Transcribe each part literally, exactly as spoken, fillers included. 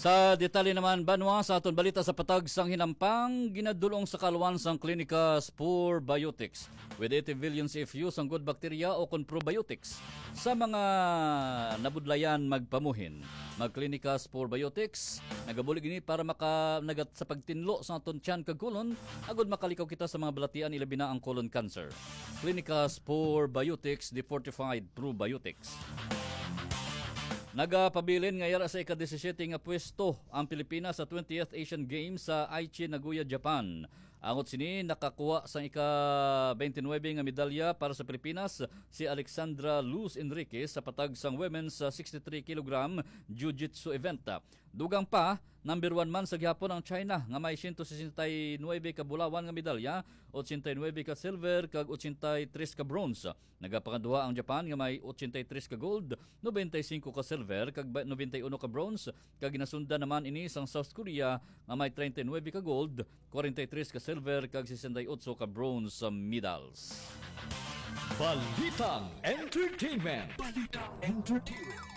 Sa detalye naman, banwa, sa aton balita sa patag sang hinampang, ginadulong sa kaalwan sang Clinicas Probiotics with eighty billion C F U sang good bacteria o kon probiotics sa mga nabudlayan magpamuhin. Mag Clinicas Probiotics, nagabulig ini para maka, nagat sa pagtinlo sa aton tiyan kag kulon, agud makalikaw kita sa mga balatian, ilabi na ang colon cancer. Clinicas Probiotics, the fortified probiotics. Nagapabilin nga yara sa ika-disisiete nga pwesto ang Pilipinas sa twentieth Asian Games sa Aichi, Nagoya, Japan. Angot sini, nakakuha sang ika-twenty-nine nga medalya para sa Pilipinas si Alexandra Luz Enriquez sa patag sang women's, ah, sixty-three kilogram jiu-jitsu event. Dugang pa, number one man sa gihapon ang China nga may siyento sesenta y nuebe ka bulawan nga medalya, ochenta y nuebe ka silver, kag ochenta y tres ka bronze. Nagapangaduha ang Japan nga may ochenta y tres ka gold, nobenta y singko ka silver, kag ba-, nobenta y uno ka bronze, kag ginasundan naman ini sang South Korea nga may treinta y nuebe ka gold, kwarenta y tres ka silver, kag sesenta y otso ka bronze medals. Balitang Entertainment. Balitang Entertainment.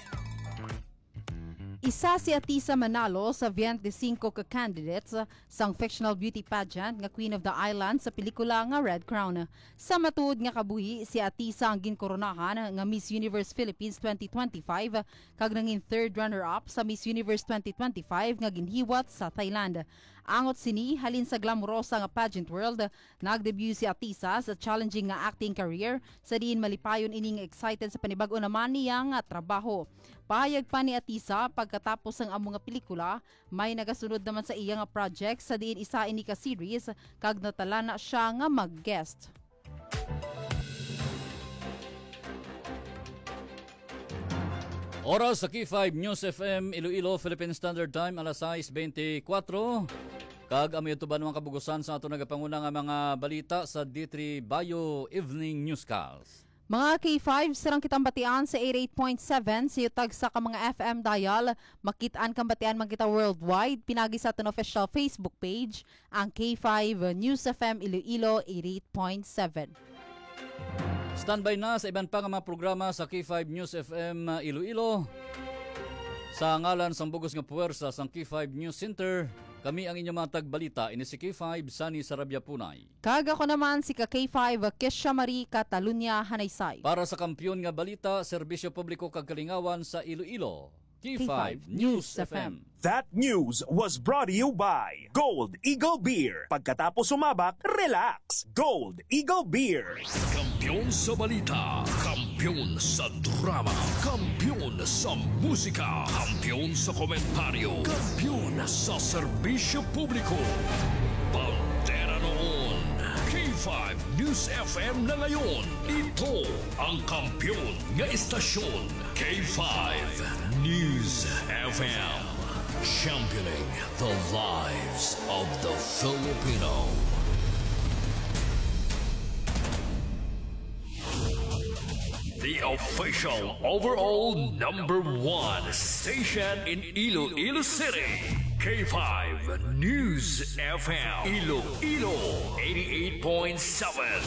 Isa si Atisa Manalo sa twenty-five ka candidates sang fictional beauty pageant nga Queen of the Island sa pelikula nga Red Crown. Sa matuod nga kabuhi, si Atisa ang ginkoronahan nga Miss Universe Philippines twenty twenty-five kag nangin third runner-up sa Miss Universe twenty twenty-five nga ginhiwat sa Thailand. Angot sini, halin sa glamorosa nga pageant world, nag-debut si Atisa sa challenging nga acting career, sa diin malipayon ini nga excited sa panibag-o naman niya nga trabaho. Pahayag pa ni Atisa, pagkatapos sang amo nga pelikula, may nagasunod naman sa iya nga project, sa diin isa ini ka series, kag natalana siya nga mag-guest. Oras sa K five News F M Iloilo, Philippine Standard Time, alas sais bente kuwatro. Kag amo ito ba mga kabugusan sa ato nagapanguna nga mga balita sa D three Bio Evening Newscast. Mga K five, sarang kitang batian sa eighty-eight point seven sa iyo tagsa ka mga F M dial. Makit-an kang batian man kita worldwide, pinagi sa aton official Facebook page, ang K five News F M Iloilo eighty-eight point seven. Standby na sa iban pa nga mga programa sa K five News F M Iloilo. Sa ngalan sang bugos nga puwersa sang K five News Center, kami ang inyong mga tagbalita, ini si K five Sunny Sarabia Punay. Kag ako naman si ka K five Kesha Marie Catalunya Hanaysay. Para sa kampiyon nga balita, serbisyo publiko kag kalingawan sa Iloilo, K five News F M. That news was brought to you by Gold Eagle Beer. Pagkatapos sumabak, relax. Gold Eagle Beer. Kampiyon sa balita, kampiyon sa drama, kampiyon sa musika, kampiyon sa komentaryo, kampiyon sa serbisyo publiko. Bandera noon, K five News F M na ngayon. Ito ang kampiyon nga istasyon. K five News F M, championing the lives of the Filipino. The official overall number one station in Iloilo City, K five News F M, Iloilo eighty-eight point seven.